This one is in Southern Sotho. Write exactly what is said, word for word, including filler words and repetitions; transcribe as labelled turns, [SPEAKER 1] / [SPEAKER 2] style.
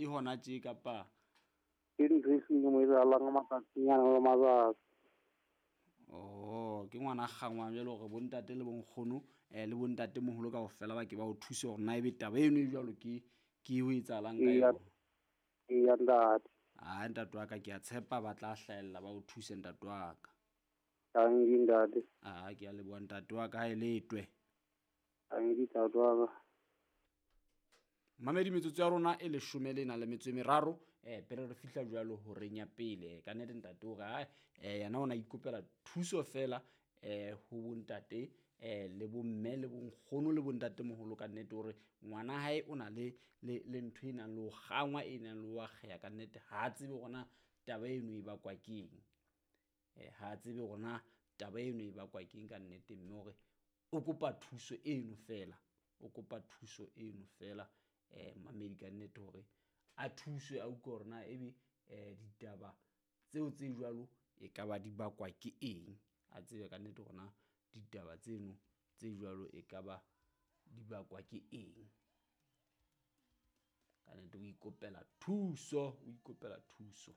[SPEAKER 1] hona tje kapa?
[SPEAKER 2] Ke ntho e seng mo etsahalang ka matsatsinyana le matsatsi.
[SPEAKER 1] Oh, ke ngwana kgangwang jwale hore bontate le bonkgono um le bontate moholo kaofela ba ke ba o thuse hore na ebe taba eno e jwalo ke ke ho etsahalang ka
[SPEAKER 2] Eya.
[SPEAKER 1] yona.
[SPEAKER 2] Eya ntate.
[SPEAKER 1] Ah, ntate wa ka, ke a tshepa ba tla hlahella ba o thuse ntate wa ka.
[SPEAKER 2] Tanki ntate.
[SPEAKER 1] Ah, ke a leboha ntate wa ka, ha e letwe.
[SPEAKER 2] Tanki ntate wa ka.
[SPEAKER 1] Mamedi, metsotso ya rona e leshome le nang le metso e meraro um pele re fihla jwalo horeng ya pele. Ka nnete ntate o re ai um yena o na ikopela thuso fela um ho bontate um le bomme le bonkgono le bontatemoholo. Ka nnete hore ngwana hae o na le le le ntho e nang le ho kgangwa, e nang le ho akgeha. Ka nnete ha a tsebe hore na taba eno e bakwa keng, um ha a tsebe hore na taba eno e bakwa keng ka nnete, mme hore o kopa thuso eno fela, o kopa thuso eno fela um mamedi ka nnete hore a thuswe, a utlwe hore na ebe um ditaba tseo tse jwalo e ka ba di bakwa ke eng, a tsebe ka nnete hore na ditaba tseno tse jwalo e ka ba di bakwa ke eng. Ka nnete o ikopela thuso, o ikopela thuso.